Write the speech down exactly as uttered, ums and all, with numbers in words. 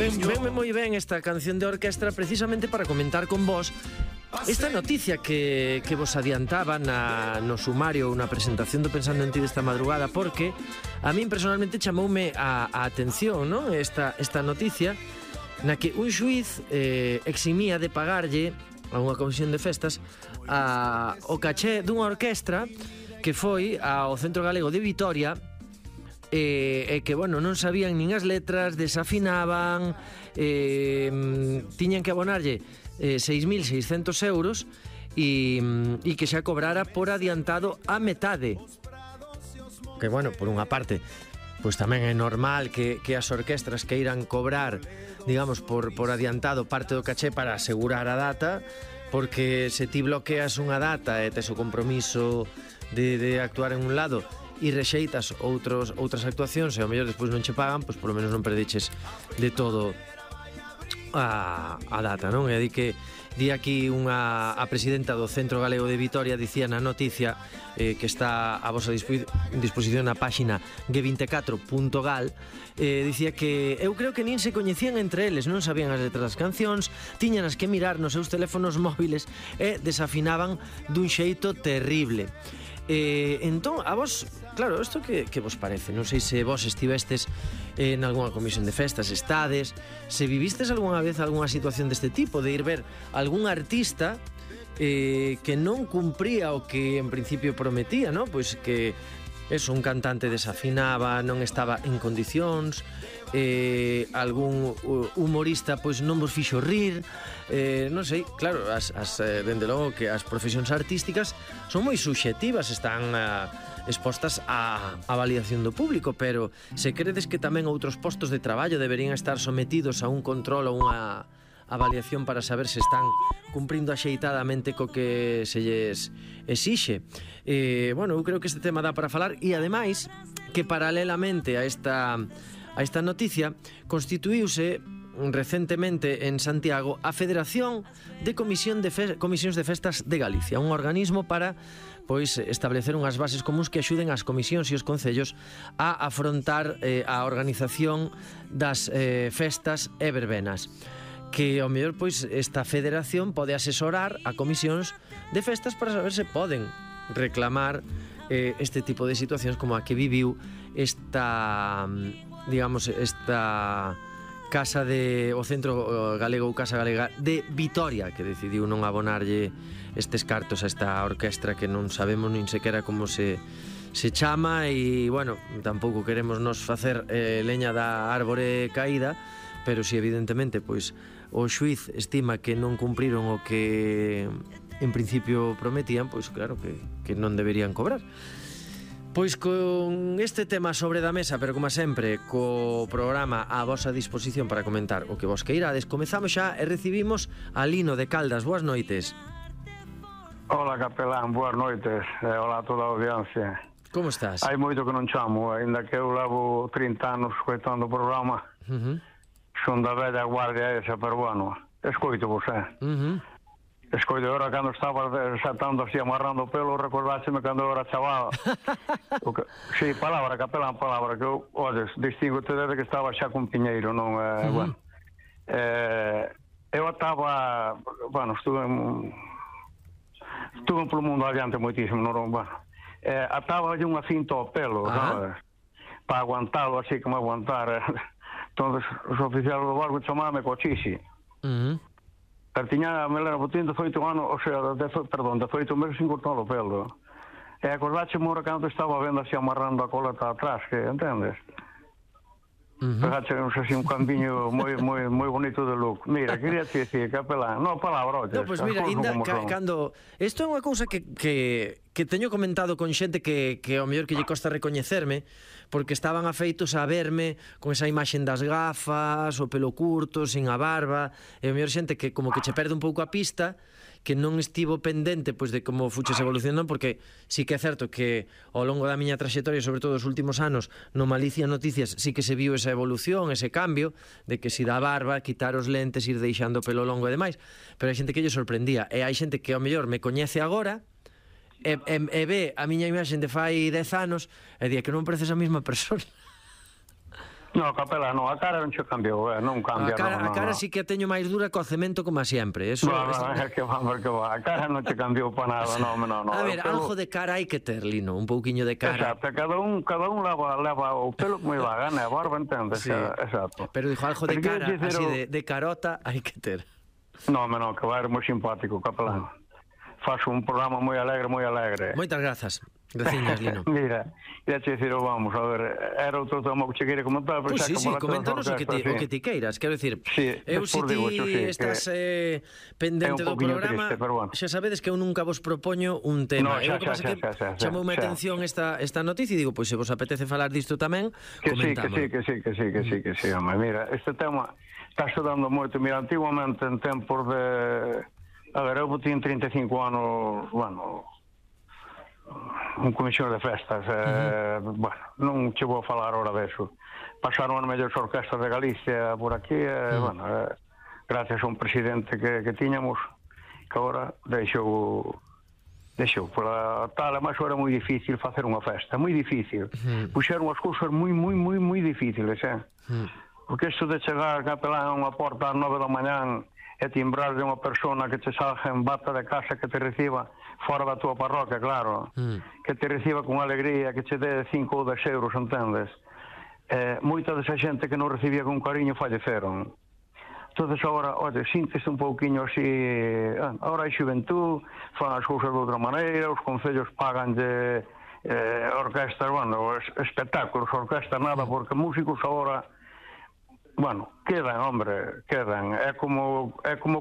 Venme moi ben esta canción de orquestra precisamente para comentar con vos esta noticia que, que vos adiantaba na, no sumario, unha presentación do Pensando en Ti desta madrugada, porque a min personalmente chamoume a, a atención, non? Esta, esta noticia na que un xuiz eh, eximía de pagarlle a unha comisión de festas a, o caché dunha orquestra que foi ao Centro Galego de Vitoria e eh, eh, que, bueno, non sabían nin as letras, desafinaban, eh, tiñan que abonarlle eh, seis mil seiscentos euros e, e que xa cobrara por adiantado a metade. Que, bueno, por unha parte, pois tamén é normal que, que as orquestras que irán cobrar, digamos, por, por adiantado parte do caché para asegurar a data, porque se ti bloqueas unha data e tes o compromiso de, de actuar en un lado e rexeitas outros, outras actuacións e ao mellor despois non che pagan, pois polo menos non perdiches de todo a, a data, non? E di que di aquí unha a presidenta do Centro Galego de Vitoria dicía na noticia eh, que está a vosa disposición na páxina ge vinte e catro punto gal, eh, dicía que eu creo que nin se coñecían entre eles, non sabían as letras das cancións, tiñanas que mirar nos seus teléfonos móviles e desafinaban dun xeito terrible. Eh, entón, a vos, claro, isto que, que vos parece? Non sei se vos estivestes en algunha comisión de festas, estades, se vivistes algunha vez algunha situación deste tipo, de ir ver algún artista eh, que non cumpría o que en principio prometía, non? Pois que eso, un cantante desafinaba, non estaba en condicións, eh, algún humorista pois non vos fixo rir, eh, non sei, claro, as, as, dende logo que as profesións artísticas son moi subxetivas, están uh, expostas á avaliación do público, pero se credes que tamén outros postos de traballo deberían estar sometidos a un control ou unha avaliación para saber se están cumprindo axeitadamente co que se lles exixe. Eh, bueno, eu creo que este tema dá para falar e ademais que paralelamente a esta a esta noticia constituíuse recentemente en Santiago a Federación de Comisión de Fe- Comisións de Festas de Galicia, un organismo para pois establecer unhas bases comuns que axuden as comisións e os concellos a afrontar eh, a organización das eh, festas e verbenas, que ao mellor pois esta federación pode asesorar a comisións de festas para saber se poden reclamar eh, este tipo de situacións como a que viviu esta, digamos, esta Casa de o Centro Galego ou Casa Galega de Vitoria, que decidiu non abonarlle estes cartos a esta orquestra que non sabemos nin sequera como se se chama e, bueno, tampouco queremos nos facer eh, leña da árbore caída, pero si evidentemente pois o xuiz estima que non cumpriron o que en principio prometían, pois claro que, que non deberían cobrar. Pois con este tema sobre da mesa, pero como sempre, co programa a vosa disposición para comentar o que vos queirades, comezamos xa e recibimos a Lino de Caldas. Boas noites. Hola, capelán, boas noites. E hola a toda a audiencia. Como estás? Hai moito que non chamo, ainda que eu levo trinta anos escoitando o programa. Uh -huh. Son da velha guardia esa, pero bueno, escoito vos, eh? Uh -huh. Escoito agora cando estaba saltando así, amarrando o pelo, recordáxeme cando eu era chaval. Que, sí, palabra, capelán, palabra, que eu, olles, distingo-te desde que estaba xa con Piñeiro, non? Eh, uh -huh. Bueno, eh, eu estaba, bueno, estuve en, estuve polo mundo adiante moitísimo, non? Bueno, eh, ataba unha cinta ao pelo, uh -huh. sabes? Para aguantalo así como aguantar. Entonces, os oficiales do barco chamaban cochixe. Uh -huh. Pero tiña, me lera, botín de oito anos, o sea, de, perdón, de oito meses sin cortar o pelo. E acordaxe mora cando estaba vendo así amarrando a coleta atrás, que, entendes? Uh -huh. Pegaxe, non sei, un cambiño moi moi moi bonito de look. Mira, quería te dicir, capelán, no, palabra, oye. No, pois pues mira, ainda, ca, cando... Isto é unha cousa que, que, que teño comentado con xente que, que ao mellor que lle costa recoñecerme, porque estaban afeitos a verme con esa imaxen das gafas, o pelo curto, sin a barba, e ao mellor xente que como que che perde un pouco a pista, que non estivo pendente pois de como fuches evolucionando, porque sí que é certo que ao longo da miña traxectoria, sobre todo os últimos anos, no Malicia Noticias, sí que se viu esa evolución, ese cambio, de que si da barba, quitar os lentes, ir deixando o pelo longo e demais, pero hai xente que lle sorprendía, e hai xente que ao mellor me coñece agora, E, e, e ve a miña imaxen de fai dez anos e di que non pareces a mesma persona. No, capelán, no, a cara non se cambiou, eh, non cambia. A cara, no, no, a cara no. sí que a teño máis dura co cemento como sempre. Eso, No, no, es... é que vamos, que va. A cara non se cambiou para nada, no, no, no. A ver, pelo... algo de cara hai que ter, Lino, un pouquiño de cara. Exacto, cada un, cada un leva, leva o pelo como iba a gana, a barba, entendes? Sí. Exacto. Pero dijo algo de Pero cara, dicer, así o... de, de carota, hai que ter. No, no, que vai ser moi simpático, capelán. Faz un programa moi alegre, moi alegre. Moitas grazas. Graciñas, Lino. Mira, ia che dicir, vamos, a ver, era outro tema que che queira comentar, pero Pois xa sí, que sí, falaste coméntanos das o que ti, orquestras, o que ti queiras, quero dicir, Sí, eu se despois ti digo, eso sí, estás que eh, pendente é un do pouquiño programa, triste, pero bueno. xa sabedes que eu nunca vos propoño un tema. No, Eu xa, o que xa, pasa xa, que xa, xa, xa, chamoume a xa. atención esta, esta noticia e digo, pois se vos apetece falar disto tamén, Que sí, que comentamos. sí, que sí, que sí, que sí, que sí, home. Mira, este tema está estudando moito. Mira, antiguamente en tempos de... A ver, eu tiño trinta e cinco anos, bueno, un comisión de festas, eh, uh-huh. bueno, non che vou falar ahora deso. Pasaron as mellores orquestras de Galicia por aquí, eh, uh-huh. bueno, eh, gracias a un presidente que, que tiñamos, que agora deixou... Deixou, pola tal, mas era moi difícil facer unha festa, moi difícil. Uh-huh. Puxeron as cousas moi, moi, moi, moi difíciles, eh? Uh-huh. Porque isto de chegar capelán a unha porta ás nove da mañán e timbrar de unha persona que te salga en bata de casa que te reciba fora da tua parroquia, claro, uh-huh. que te reciba con alegría, que che dé cinco ou dez euros, entendes? Eh, moita desa xente que non recibía con cariño falleceron. Entonces agora, oye, síntese un pouquiño así, ah, agora hai xuventud, fan as cousas de outra maneira, os concellos pagan de eh, orquestas, bueno, es, espectáculos, orquestas nada, porque músicos agora, bueno, quedan, hombre, quedan, é como, é como